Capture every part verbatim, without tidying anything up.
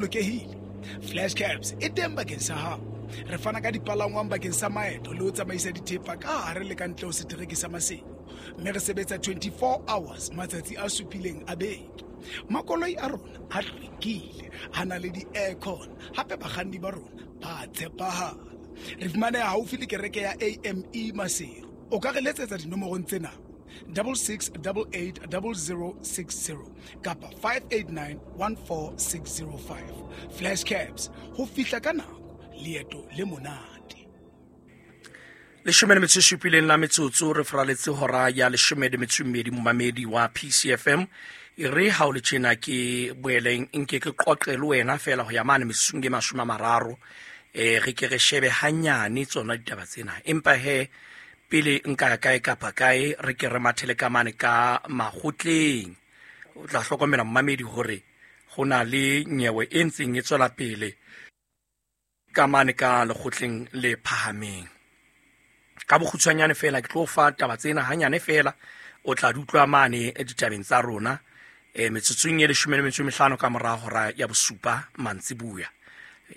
Bolokehile. Flash Cabs e teng bakeng sa hao. Re fana ka dipalangwang bakeng sa maeto le ho tsamaisa dithepa ka hare le ka ntle ho setereke sa Maseru, mme re sebetsa twenty-four hours matsatsi a supileng a beke. Makoloi a rona a hlwekile, a na le di-aircon, hape bakganni ba rona ba tshepahala. Re fumaneha haufi le kereke ya A M E Maseru. O ka re letsetsa dinomorong tsena: double six double eight double zero six zero kapa five eight nine one four six zero five. Flash Cabs, ho fihla ka nako, leeto le monate. Leshome le metso e supileng la metsotso re faraletse hora ya leshome le metso e mmedi. Momamedi wa P C F M, e re ha o le tjena ke boeleng nke ke qoqe le wena fela ho ya mane metsotsong e mashome a mararo, um re ke re shebe hanyane tsona ditaba tsena. Empa he, pele nka ya kae kapa kae, re ke re mathele ka mane ka makgotleng. O tla hlokomela, momamedi, hore ho na le nyewe e ntseng e tswela pele ka mane ka lekgotleng le phahameng. Ka bokgutshwanyane fela ke tlo fa taba tsena hanyane fela, o tla di utlwa mane ditabeng tsa rona e metsotsong e leshome le metso e mehlano ka mora hora ya bosupa mantsibuya.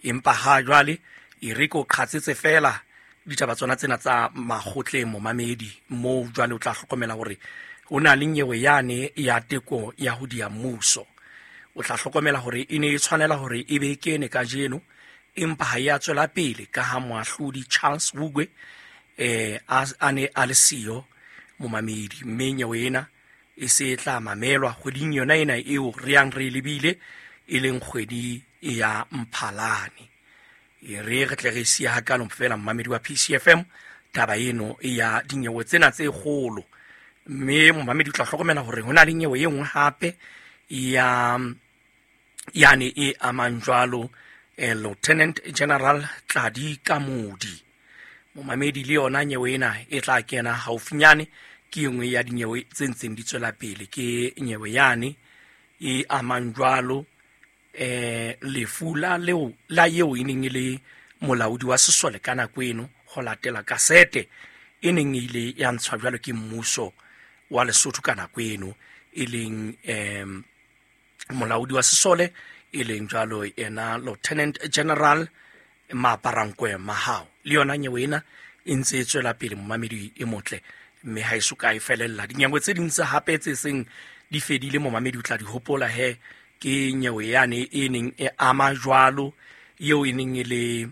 Empa ha jwale e re ke o qhatsetse fela ditaba tsona tsena tsa makgotleng, momamedi, moo jwale o tla hlokomela hore ho na le nyewe yane ya teko ya ho dia mmuso. O tla hlokomela hore e ne e tshwanela hore e be kene kajeno, empa ha ya tswela pele ka ha moahlodi Charles Wugwe eh a a ne a le siyo, momamedi, mme nyewe ena e se e tla mamelwa kgweding yona ena eo re yang re e lebile, e leng kgwedi ya Mphalane. E re re tle re siya hakalo fela, momamedi wa P C F M, taba eno ya dinyewe tsena tse kgolo. Mme momamedi, o tla hlokomela hore ho na le nyewe e nngwe hape ya yane e amang jwalo eh, Lieutenant General Tladi Kamodi. Momamedi, le yona nyewe ena e tla kena haufinyane. Ke e nngwe ya dinyewe tse ntseng di tswela pele, ke nyewe yane e amang jwalo eh lefu la leo la eo e neng e le molaodi wa sesole ka nako eno, ho latela kasete e neng e ile ya ntshwa jwalo ke mmuso wa Lesotho ka nako eno, e leng em molaodi wa sesole e leng jwalo ena Lieutenant General Maaparankoe Mahao. Le yona nyewe ena e ntse e tswela pele, momamedi e motle, mme ha e so ka e felella. Dinyewe tse ding tse hape tse seng di fedile, momamedi, o tla di hopola he ke nyewe yane e neng e ama jwalo eo e neng e le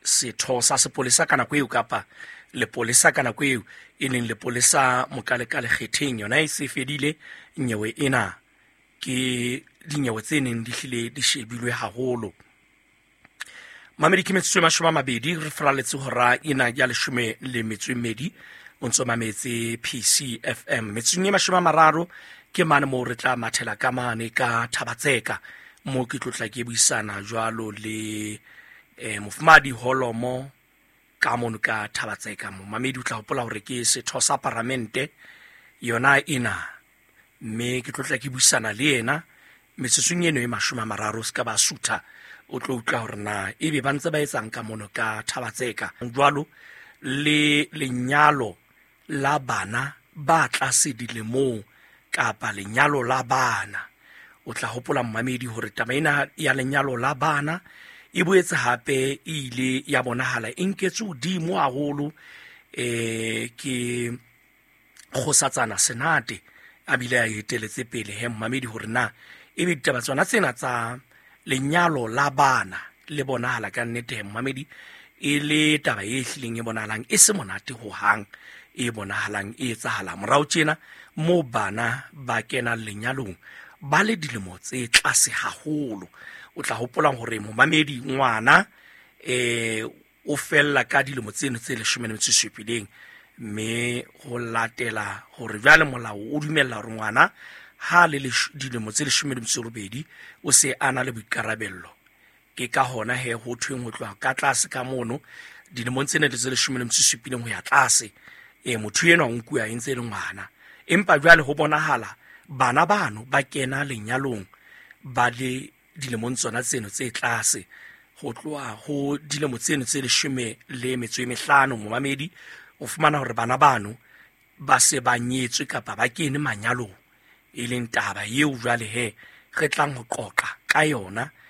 setho sa sepolesa ka nako eo, kapa lepolesa ka nako eo, e leng lepolesa Mokalekale Kgetheng. Yona e se fedile nyewe ena. Ke dinyewe tse neng di hlile di shebilwe haholo. Mamedi, ke metsotso e mashome a mabedi re faraletse hora ena ya leshome le metso e mmedi. O ntso mametse P C F M. Metsotsong e mashome a mararo ke mane moo re tla mathela ka mane ka Thabatseka, moo ke tlotla ke buisana jwalo le eh, mofumadi Holomo ka mono ka Thabatseka. Momamedi, o tla hopola hore ke setho sa paramente yona ena, mme ke tlotla ke buisana le yena metsotsong eno e mashome a mararo. Se ka ba sutha, o tlo utlwa hore na ebe ba ntse ba etsang ka mono ka Thabatseka jwalo le lenyalo la bana ba tlase dilemong kapa lenyalo la bana. O tla hopola, mmamedi, hore taba ena ya lenyalo la bana e boetse hape e ile ya bonahala e nketswe hodimo haholo eh ke kgosatsana Senate, a bile a eteletse pele he, mmamedi, hore na ebe ditaba tsona tsena tsa lenyalo la bana le bonahala ka nnete he, mmamedi, e le taba e hlileng e bonahalang e se monate hohang, e bonahalang e etsahala morao tjena, moo bana ba kenang lenyalong ba le dilemo tse tlase haholo. O tla hopolang hore, momamedi, ngwana eh o fella ka dilemo tseno tse leshome le metso e supileng, mme ho latela hore jwale molao o dumella hore ngwana ha le dilemo tse leshome le metso e robedi o se a na le boikarabello. Ke ka hona he ho thweng ho tloha ka tlase ka mono dilemong tsena tse leshome le metso e supileng ho ya tlase, e motho enwa o nkuwa e ntse e le ngwana. Empa jwale ho bonahala bana bano ba kena lenyalong ba le dilemong tsona tseno tse tlase, ho tloha ho dilemo tseno tse leshome le metso e mehlano. Momamedi, o fumana hore bana bano ba se ba nyetswe kapa ba kene manyalong, e leng taba eo jwale he re tlang ho qoqa ka yona.